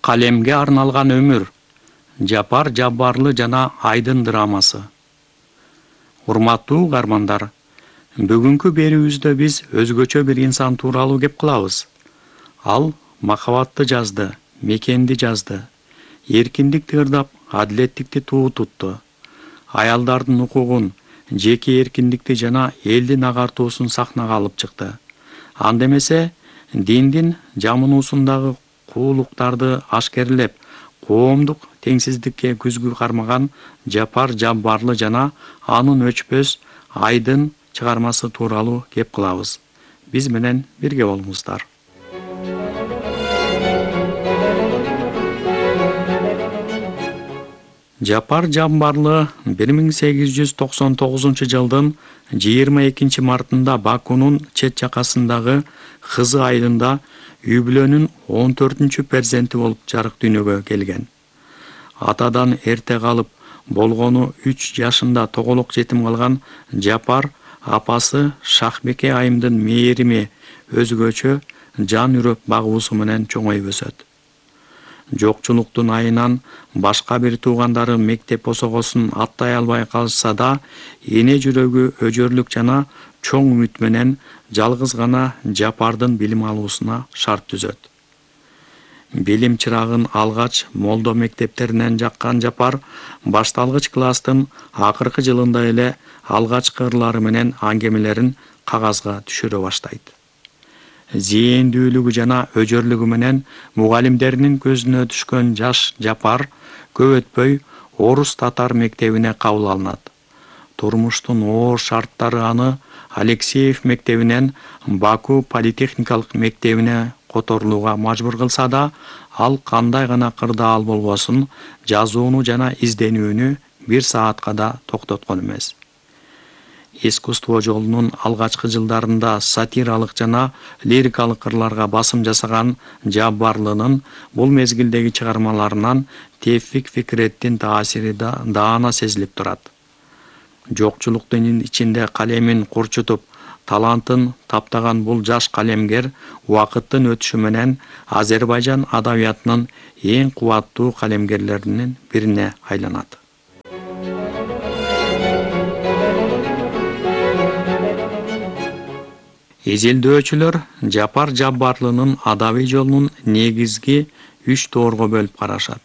Калемге арналган өмүр. Жапар Жаббарлы жана Айдын драмасы. Урматтуу угармандар, бүгүнкү берүүбүздө биз өзгөчө бир инсан тууралуу кеп кылабыз. Ал махабатты жазды, мекенди жазды, эркиндикти ырдап, адилеттикти туу тутту. Аялдардын укугун, жеке эркиндикти жана элдин агартуусун сахнага алып чыкты. Анда эмесе, диндин жамынуусундагы куулуктарды ашкерлеп, коомдук теңсиздикке күзгү кармаган Жапар Жаббарлы жана анын өчпөс Айдын чыгармасы тууралуу кеп кылабыз. Биз менен бирге болуңуздар. Жапар Жаббарлы 1899-жылдын 22 мартында Бакунун чет жакасындагы кызы Айдында үй бүлөнүн 14 перзенти болуп жарык дүйнөгө келген. Атадан эрте калып, болгону 3 жашында тоголок жетим калган Жапар апасы Шахбеке айымдын мээрими, өзгөчө жан үрөп багуусу менен чоңоюп өсөт. Жокчулуктун айынан башка бир туугандары мектеп осогосун аттай албай калышса да, эне жүрөгү өжөрлүк жана чоң үмүт менен жалгыз гана Жапардын билим алуусуна шарт түзөт. Билим чырагын алгач молдо мектептеринен жаккан Жапар башталгыч класстын акыркы жылында эле алгачкы ырлары менен аңгемелерин кагазга түшүрө баштайт. Зээндүүлүгү жана өжөрлүгү менен мугалимдеринин көзүнө түшкөн жаш Жапар көп өтпөй орус татар мектебине кабыл алынат. Турмуштун оор шарттары аны Алексеев мектебинен Баку политехникалык мектебине которулууга мажбур кылса да, ал кандай гана кырдаал болбосун, жазууну жана изденүүнү 1 саатка да токтоткон эмес. Искусство жолунун алгачкы жылдарында сатиралык жана лирикалык ырларга басым жасаган Жаббарлынын бул мезгилдеги чыгармаларынан Тевфик Фикреттин таасири да даана сезилип турат. Жокчулуктун ичинде калемин курчутуп, талантын таптаган бул жаш калемгер убакыттын өтүшү менен Азербайжан адабиятынын эң кубаттуу калемгерлеринин бирине айланат. Изилдөөчүлөр Жапар Жаббарлынын адабий жолунун негизги 3 тоорго бөлүп карашат.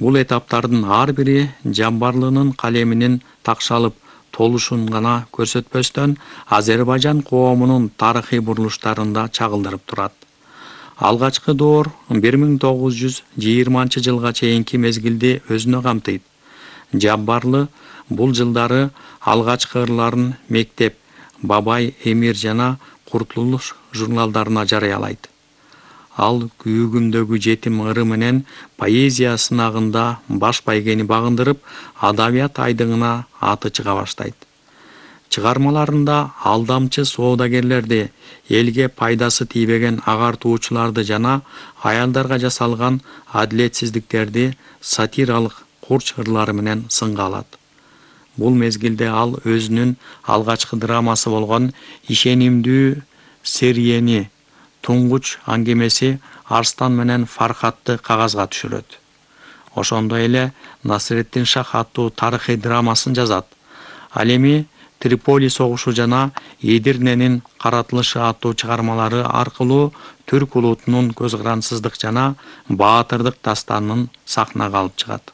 Бул этаптардын ар бири Жаббарлынын калеминин такшалып толушун гана көрсөтпөстөн, Азербайжан коомунун тарыхый бурулуштарында чагылдырып турат. Алгачкы доор 1920-жылга чейинки мезгилди өзүнө камтыйт. Жаббарлы бул жылдары алгачкы ырларын Мектеп, Бабай Эмир жана Куртулуш журналдарына жарыялайт. Ал күйүгүмдөгү жетим ыры менен поэзия сынагында баш байгени багындырып, адабият айдыңына аты чыга баштайт. Чыгармаларында алдамчы соодагерлерди, элге пайдасы тийбеген агартуучуларды жана аялдарга жасалган адилетсиздиктерди сатиралык курч ырлары менен сынга алат. Бул мезгилде ал өзүнүн алгачкы драмасы болгон Ишенимдүү Сериени Туңгуч аңгемеси Арстан менен Фархатты кагазга түшүрөт. Ошондой эле Насретдин Шах аттуу тарыхый драмасын жазат. Ал эми Триполи согушу жана Эдирненин каратылышы аттуу чыгармалары аркылуу түрк улутунун көз карансыздык жана баатырдык дастанын сахнага алып чыгат.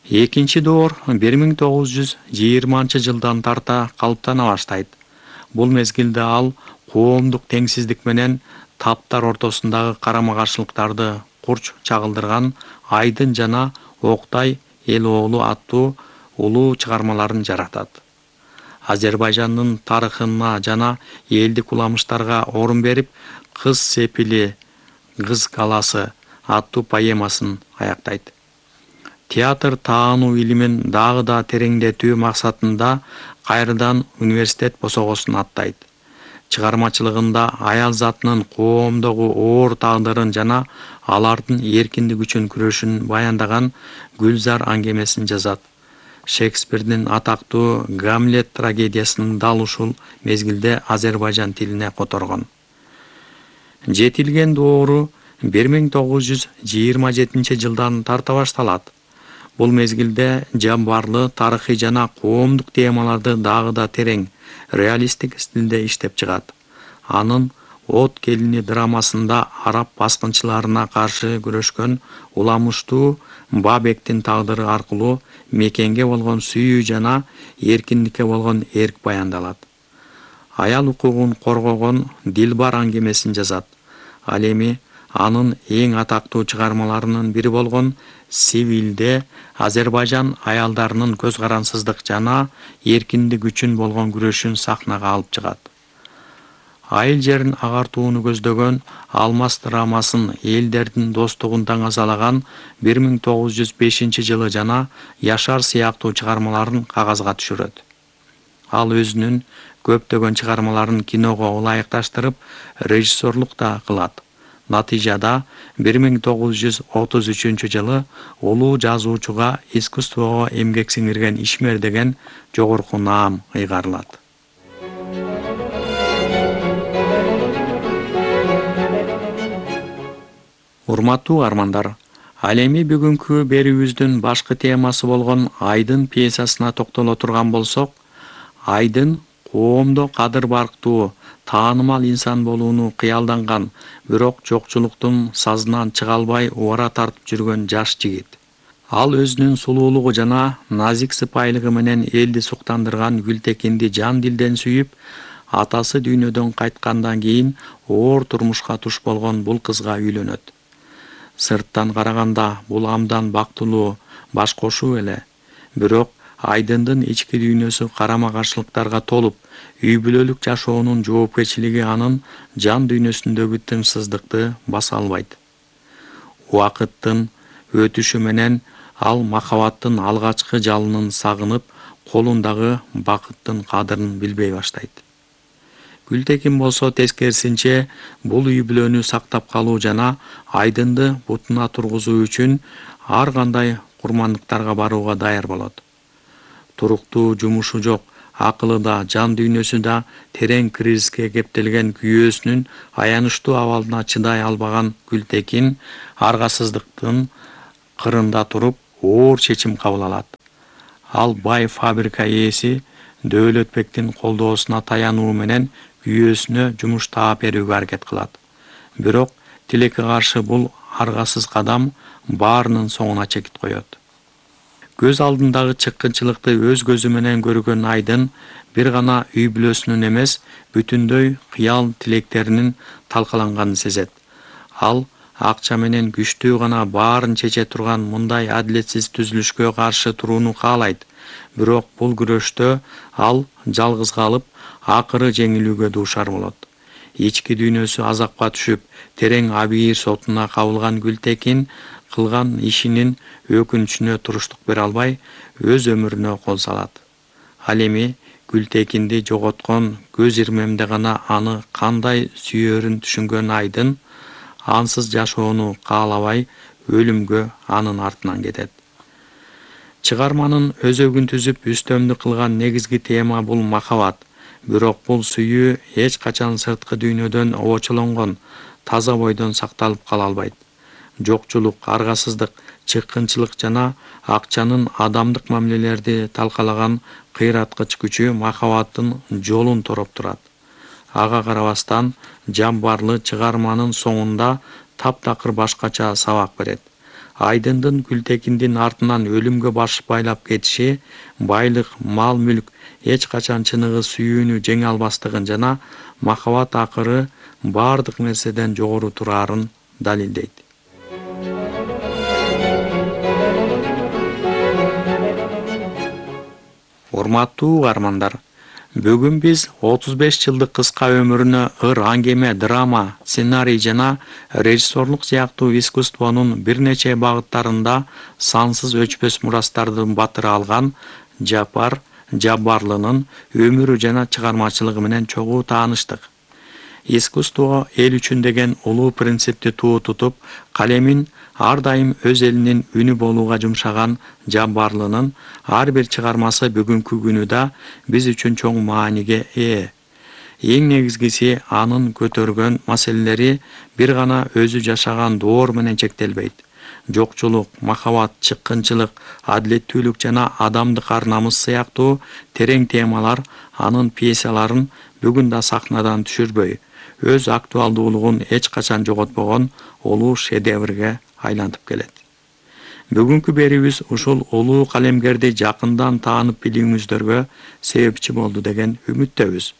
Экинчи доор 1920-жылдан тарта калыптана баштайт. Бул мезгилде ал коомдук теңсиздик менен таптар ортосундагы карама-каршылыктарды курч чагылдырган Айдын жана Октай эл оолу аттуу улуу чыгармаларын жаратат. Азербайжандын тарыхына жана элдик уламыштарга орун берип, Кыз сепили, Кыз каласы аттуу поэмасын аяктайт. Театр таануу илимин дагы да тереңдетүү максатында кайрадан университет босогосун аттайт. Чыгармачылыгында аял затынын коомдогу оор тагдырын жана алардын эркиндик үчүн күрөшүн баяндаган Гүлзар аңгемесин жазат. Шекспирдин атактуу Гамлет трагедиясын дал ушул мезгилде Азербайжан тилине которгон. Жетилген доору 1927-жылдан тарта башталат. Бул мезгилде Жаббарлы тарыхый жана коомдук темаларды дагы да терең, реалисттик стилде иштеп чыгат. Анын От келини драмасында араб баскынчыларына каршы күрөшкөн уламыштуу Бабектин тагдыры аркылуу мекенге болгон сүйүү жана эркиндикке болгон эрк баяндалат. Аял укугун коргогон Дилбар аңгемесин жазат. Ал эми анын эң атактуу чыгармаларынын бири болгон Сивилде Азербайжан аялдарынын көз карансыздык жана эркиндик үчүн болгон күрөшүн сахнага алып чыгат. Айыл жерин агартууну көздөгөн Алмаз драмасын элдердин достугун таңазалаган 1905-жылы жана Яшар сыяктуу чыгармаларын кагазга түшүрөт. Ал өзүнүн көптөгөн чыгармаларын киного ылайыкташтырып, режиссерлук да кылат. Натыйжада 1933-жылы улуу жазуучуга искусствого эмгек сиңирген ишмер деген жогорку наам ыйгарылат. Урматтуу армандар, ал эми бүгүнкү берүүбүздүн башкы темасы болгон Айдын пьесасына токтоло турган болсок, Айдын коомдо кадыр барктуу, таанымал инсан болууну кыялданган, бирок жокчулуктун сазынан чыга албай убара тартып жүргөн жаш жигит. Ал өзүнүн сулуулугу жана назик сыпайылыгы менен элди суктандырган Гүлтекинди жан дилден сүйүп, атасы дүйнөдөн кайткандан кийин оор турмушка туш болгон бул кызга үйлөнөт. Сырттан караганда бул абдан бактылуу, баш кошуу эле. Бирок Айдындын ички дүйнөсү карама-каршылыктарга толуп, үй бүлөлүк жашоонун жоопкерчилиги анын жан дүйнөсүндөгү тынчсыздыкты баса албайт. Убакыттын өтүшү менен ал махабаттын алгачкы жалынын сагынып, колундагы бакыттын кадырын билбей баштайт. Гүлтекин болсо тескерисинче бул үй бүлөнү сактап калуу жана Айдынды бутуна тургузуу үчүн ар кандай курмандыктарга барууга даяр болот. Туруктуу жумушу жок, акылы да, жан дүйнөсү да терең кризиске кептелген күйөөсүнүн аянычтуу абалына чыдай албаган Гүлтекин аргасыздыктын кырында туруп оор чечим кабыл алат. Ал бай фабрика ээси Дөөлөтбектин колдоосуна таянуу менен күйөөсүнө жумуш таап берүүгө аракет кылат. Бирок тилекке каршы бул аргасыз кадам баарынын соңуна чекит коет. Көз алдындагы чыккынчылыкты өз көзү менен көргөн Айдын бир гана үй бүлөсүнүн эмес, бүтүндөй кыял тилектеринин талкаланганын сезет. Ал акча менен күчтүү гана баарын чече турган мындай адилетсиз түзүлүшкө каршы турууну каалайт. Бирок бул күрөштө ал жалгыз калып, акыры жеңилүүгө дуушар болот. Ички дүйнөсү азапка түшүп, терең абийир сотуна кабылган Гүлтекин кылган ишинин өкүнүчүнө туруштук бере албай, өз өмүрүнө кол салат. Ал эми Гүлтекинди жоготкон көз ирмемде гана аны кандай сүйөрүн түшүнгөн Айдын ансыз жашоону каалабай өлүмгө анын артынан кетет. Чыгарманын өзөгүн түзүп үстөмдүк кылган негизги тема бул махабат. Бирок бул сүйүү эч качан сырткы дүйнөдөн обочолонгон, таза бойдон сакталып кала албайт. Жокчулук, аргасыздык, чыккынчылык жана акчанын адамдык мамилелерди талкалаган кыйраткыч күчү махабаттын жолун тороп турат. Ага карабастан Жаббарлы чыгарманын соңунда таптакыр башкача сабак берет. Айдындын Гүлтекиндин артынан өлүмгө баш байлап кетиши, байлык, мал-мүлк эч качан чыныгы сүйүүнү жеңе албастыгын жана махабат акыры бардык нерседен жогору турарын далилдейт. Урматтуу угармандар, бүгүн биз 35 жылдык кыска өмүрүнө ыр аңгеме, драма, сценарий жана режиссерлук сыяктуу искусствонун бир нече багыттарында сансыз өчпөс мурастардын батыры алган Жаббарлынын өмүрү жана чыгармачылыгы менен чогуу тааныштык. Искусство эл үчүн деген улуу принципти туу тутуп, калемин ар дайым өз элинин үнү болууга жумшаган Жаббарлынын ар бир чыгармасы бүгүнкү күнү да биз үчүн чоң мааниге ээ. Эң негизгиси анын көтөргөн маселелери бир гана өзү жашаган доор менен чектелбейт. Жокчулук, махабат, чыккынчылык, адилеттүүлүк жана адамдык ар-намыс сыяктуу терең темалар анын пьесаларын бүгүн да сахнадан түшүрбөй, өз актуалдуулугун эч качан жоготпогон улуу шедеврге айлантып келет. Бүгүнкү берүүбүз ушул улуу калемгерди жакындан таанып билүүңүздөргө себепчи болду деген үмүттөбүз.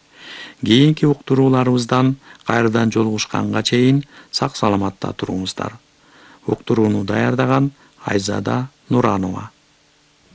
Кийинки уктурууларыбыздан кайрадан жолугушканга чейин сак саламатта туруңуздар. Уктурууну даярдаган Айзада Нуранова.